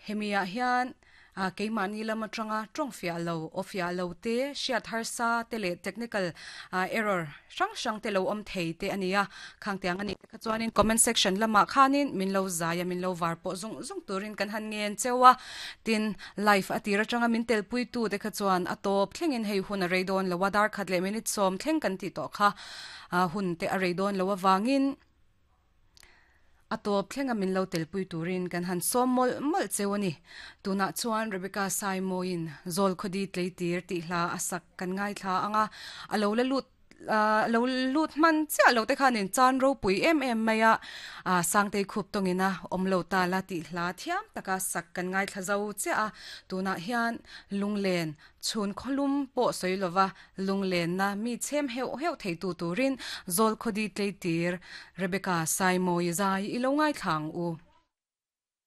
Hemi ah hian keimahni lam atanga tawng fiah lo, aw fiah lo te, hriat harsa te leh technical error hrang hrang te lo awm thei te a ni a. Khang tiang a nih te kha chuanin comment section lamah khanin min lo zai a, min lo var pawh zung zung turin kan han ngen cheu a. Tin, live a tir atanga min telpuitu te kha chuan a tawp thlengin hei hun a rei dawn lo a, dar khat leh minute sawm thleng kan tih tawh kha hun te a rei dawn lo avangin, A tawp thlenga min lo telpui turin kan han sawm mawlh mawlh cheu a ni. Tunah chuan Rebecca Saimawiin Zawlkhawdi Tleitir tih hla a sak kan ngaithla ang a, a lo la lut a lo lut hman chiah lo te khanin chan ropui em em mai a, Sangtei khup tawngin a awm lo ta la tih hla thiam taka sak kan ngaithla zo chiah a, tunah hian lunglen Chhun khawlum pawh sawi lova lunglenna mi chhem heuh heuh theitu turin Zawlkhawdi tleitir Rebecca Saimawi zai i lo ngaithla ang u.